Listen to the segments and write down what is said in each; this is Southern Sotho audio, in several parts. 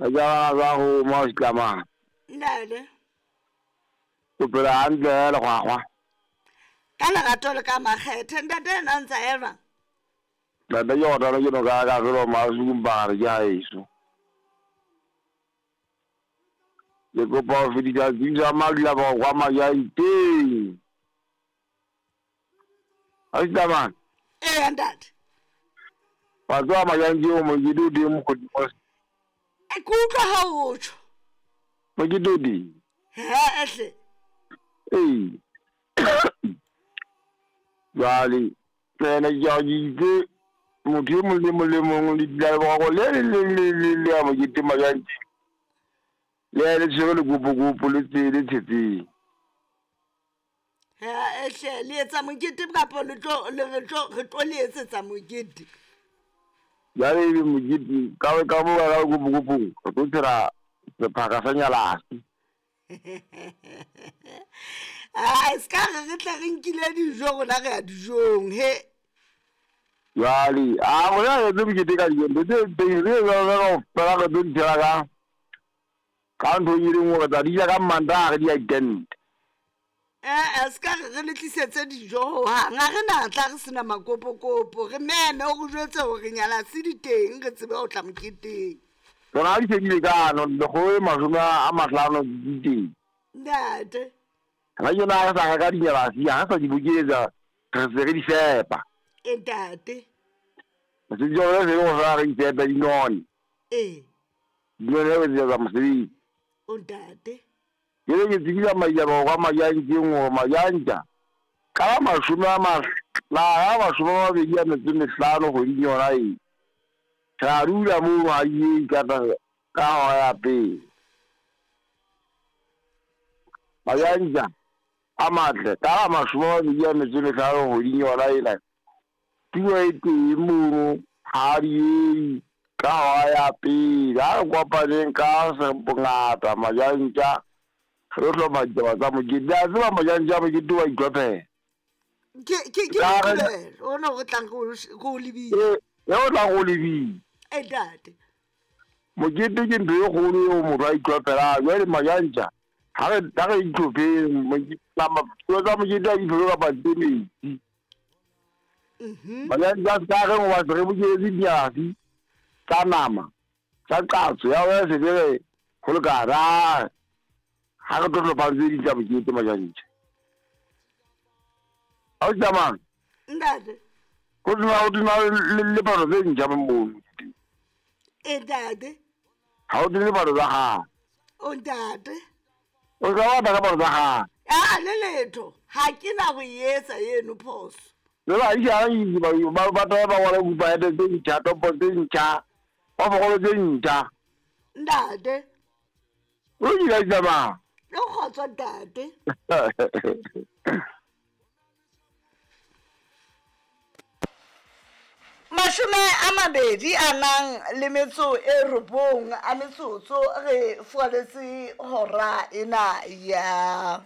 Ka ja ba go mo tlamang. Ntate. O phela hantle he lekgwakgwa. Ka lerato le ka makgethe ntate ena o ntsa ema. Ntate ke gotana ke no ka ka felo masuku mpagare ke haeso. Ke kopa ho fetisa tsebiso ya madula ba kwa Majaiteng. Ausi Ee ntate. Wa tseba Majanteng o mokete o teng mokgotsi mos. E ke utlwa ha o tjho. Mokete o teng. He ehle. Ee. Jwale ene ke a ke itse motho e mong le mong le mong le dula le boroko le leng le leng le le ya mokete Majanteng. Le ya le tshwere lekopokopo le tse le tshetseng. Ha ehle le etsa mokete kapa le tlo le re tlo re tlo le etsetsa mokete. Jwale ebe mokete ka ka mo ka lekopokopong re tlo tshela sephaka sa nyalase. Ai ska re re tle re nkile dijo rona re ya dijong he. Jwale a rona re etse mokete ka dijo ntho tse teng re etsa kaofela re tlo di tshela ka ka ntho e le nngwe re tla di ja ka Mantaha re di ya ditente. Ee, se ka re re le tlisetse dijo hohang. Ha re na tla re sena makopokopo. Re meme o re jwetse hore nyalase di teng re tsebe ho tla moketeng. Tsona ha di se di lekane lekgolo le mashome a mahlano di teng. Ntate. Hona tjena ha re sa reka dinyalasi ha re sa di bokeletsa re se re di fepa. E ntate. Mosebetsi wa rona se le ho fela re di fepe di none. Ee. Di none re etsetsa mosebetsi. O ntate. Ke be ke tsebisa maitjaba kwa Majantjeng hore Majantja ka la mashome a a 25 kgweding yona e. Re a dula mono ha di ka ka hora ya pele. Majantja a matle ka la 25 kgweding yona ena. Tulo e teng mono ha di ka hora ya pele. Ha re kopaneng ka bongata Majantja re hlopha ditaba tsa mokete. Le a tseba Majantja mokete wa itlhophela. Ke ke ke Moqebelo ona o tlang go lebile. E o tlang go lebile. E ntate. Mokete ke ntho e kgolo eo motho a itlhophelang. Jwale Majantja ha re ha re itlhopheng nama tsa mokete a di tlhophe kapa tse metsi. Majantja a se ka reng hoba se re bokeletse dinyalasi tsa nama tsa qatso ya wena se re ho lekana. Ha re tlo hlopha tse ding tsa mokete Majantja. Ha o tsamang. Ntate. Ho tena le palo tse ntjha mono. E ntate. Ha o tene palo tsa hao. O ntate. O ka batla ka palo tsa hao. A le letho ha ke na ho etsa eno phoso. Le ba isha ba ba ba ba wala kupa tse ntjha topo tse ntjha. Ba bogolo tse ntjha. Ntate. O dira tsamaya. Le kgotso ntate. Mashome a mabedi a nang le metso e robong a metsotso re fualetse hora ena ya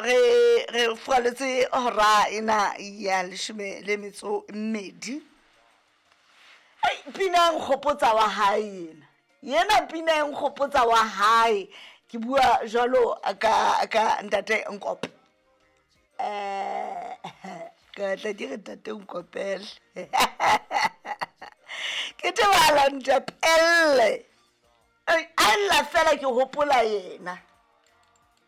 re re fualetse hora ena ya leshome le metso mmedi. Ai pina nkgopotsa wa hae ena. Yena pina e nkgopotsa wa hae. Ke bua jwalo ka ka ntate Nkope. Ka tla ke re ntate Nkopele. Ke tebala ntapelle. A lla fela ke hopola yena.